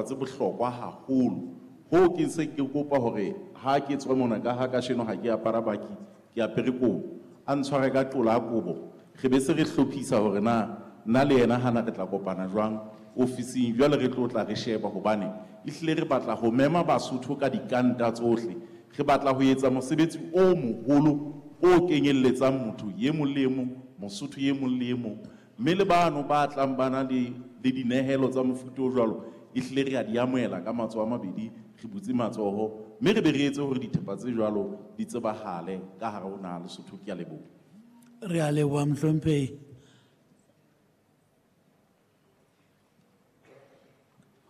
tse bohlokwa haholo. Hoo ke se ke kopa hore ha ke tswa mona, ka ha kasheno ha ke apara baki, ke apere kobo, a ntshware ka qola a kobo, re be se re hlophisa hore na nna le yena hana re tla kopana jwang ofising. Jwale re tlo tla re sheba, hobane ehlile re batla ho mema Basotho ka dikanta tsohle. Re batla ho etsa mosebetsi o moholo o kenyelletsang motho e mong le e mong, Mosotho e mong le e mong, mme le bano ba tlang ba na le dinehelo tsa mofuta o jwalo, ehlile re a di amohela ka matsoho a mabedi, re butse matsoho, mme re be re etse hore dithepa tse jwalo di tsebahale ka hare ho naha Lesotho. Ke a leboha. Re a leboha mohlomphehi.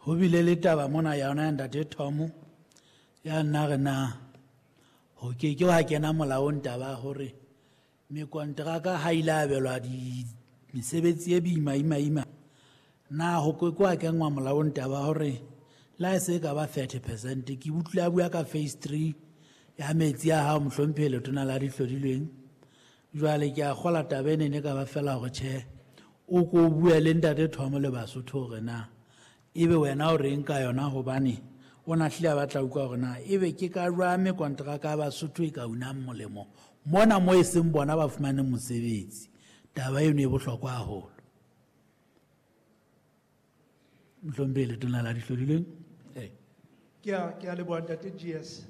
Ho bile le taba mona ya yona ya ntate Tom, ya nna re na ho ke ke wa kena molaong taba hore mekonteraka ha ile abelwa di mesebetsi e boima ima ima, na ho ke ke wa kenngwa molaong taba hore la e se ka ba 30%. Ke utlwile a bua ka phase 3 ya metsi a hao mohlomphehi letona la dihlodilweng. Jwale ke a kgola taba ene ne ka ba fela hore tjhe, o ko bue le ntate Tom le Basotho hore na ebe wena o reng ka yona, hobane o na hlile a batla utlwa hore na ebe ke ka jwang mekonteraka ya Basotho e ka unang molemo mona mo e seng bona ba fumaneng mosebetsi. Taba eno e bohlokwa haholo. Mohlomphehi letona la dihlodilweng. Ee. Ke a leboha ntate GS.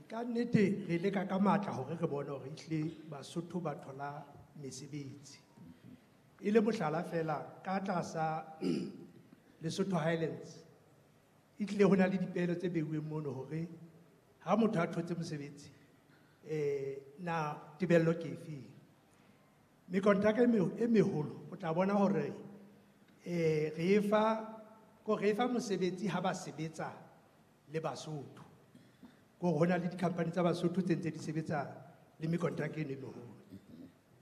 Ka nnete re leka ka matla hore re bone hore ehlile Basotho ba thola mesebetsi. E le mohlala fela, ka tlasa Lesotho Highlands, ehlile ho na le dipehelo tse beuweng mono hore ha motho a thotse mosebetsi, na tebello ke efe? Mekontraka e meholo, o tla bona hore, re e fa mosebetsi ha ba sebetsa le Basotho. Ko ho na le di-company tsa Basotho tse ntse di sebetsa le mekontraka eno e meholo.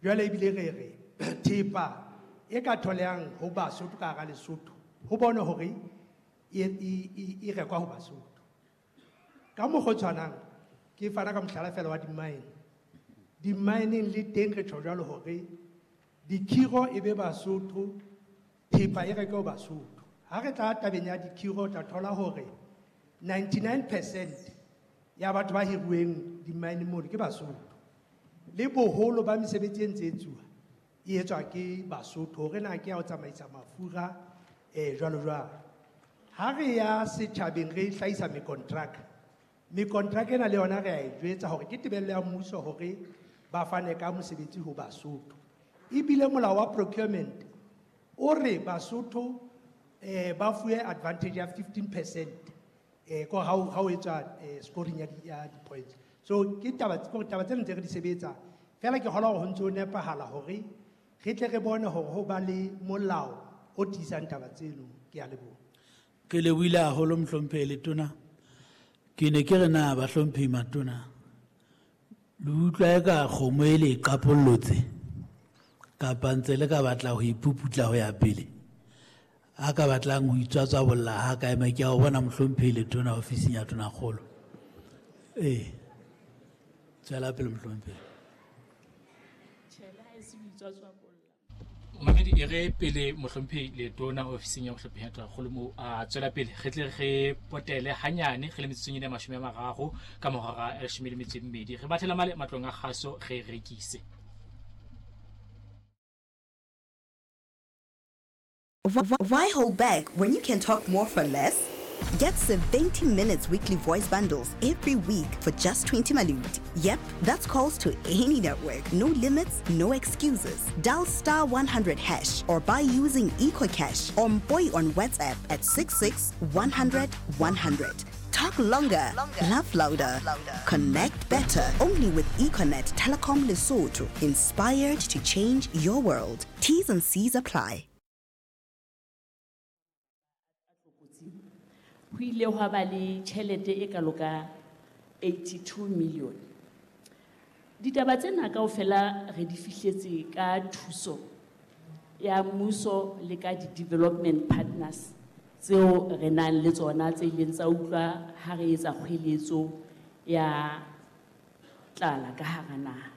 Jwale ebile re re thepa e ka tholehang ho Basotho ka hara Lesotho, ho bone hore e rekwa ho Basotho. Ka mokgwa o tshwanang, ke fana ka mohlala fela wa di-mine. Di-mineng le teng re tjho jwalo hore dikhiro e be Basotho, thepa e rekwe ho Basotho. Ha re tla tabeng ya dikhiro, o tla thola hore 99% ya batho ba hiruweng di-mine mono ke Basotho. Le boholo ba mesebetsi e ntse e etsuwa, e etswa ke Basotho, hore na ke ya ho tsamaisa mafura, jwalo jwalo. Ha re ya setjhabeng re hlahisa mekontraka, mekontraka ena le yona re a e jwetsa hore ke tebello ya mmuso hore ba fane ka mosebetsi ho Basotho. Ebile molao wa procurement o re Basotho, ba fuwe advantage ya 15%, ko ha o etswa, scoring ya di-points. So ke taba, ke hore taba tsena ntse re di sebetsa, fela ke kgolwa hore ho ntse ho nepahala hore re tle re bone hore ho ba le molao o tiisang taba tseno. Ke a leboha. Ke lebohile haholo mohlomphehi letona. Ke ne ke re na bahlomphehi matona, le utlwa eka kgomo e le e qapollotse kapa ntse le ka batla ho ipuputla ho ya pele? A ka batlang ho itswatswabolla ha ka ema, ke a o bona mohlomphehi letona ofising ya tonakgolo. Ee, tswela pele mohlomphehi. Tjhe, le ha e se ho itswatswabolla. Mamedi, e re pele mohlomphehi letona ofising ya mohlomphehi ya tonakgolo mo a tswela pele, re tle re potele hanyane re le metsotsong ena ya 30 ka mora ya 12. Re bathela male matlong a kgaso re rekise. Why hold back when you can talk more for less? Get 70 minutes weekly voice bundles every week for just 20 malut. Yep, that's calls to any network. No limits, no excuses. Dial star 100 hash or buy using EcoCash or Mpoy on WhatsApp at 66 100 100. Talk longer, laugh louder, connect better. Only with Econet Telecom Lesotho. Inspired to change your world. T's and C's apply. Ho ile hwa ba le tjhelete e kalo ka 82 million. Ditaba tsena kaofela re di fihletse ka thuso ya mmuso le ka di-development partners tseo re nang le tsona tse ileng tsa utlwa ha re etsa kgweletso ya tlala ka hara naha.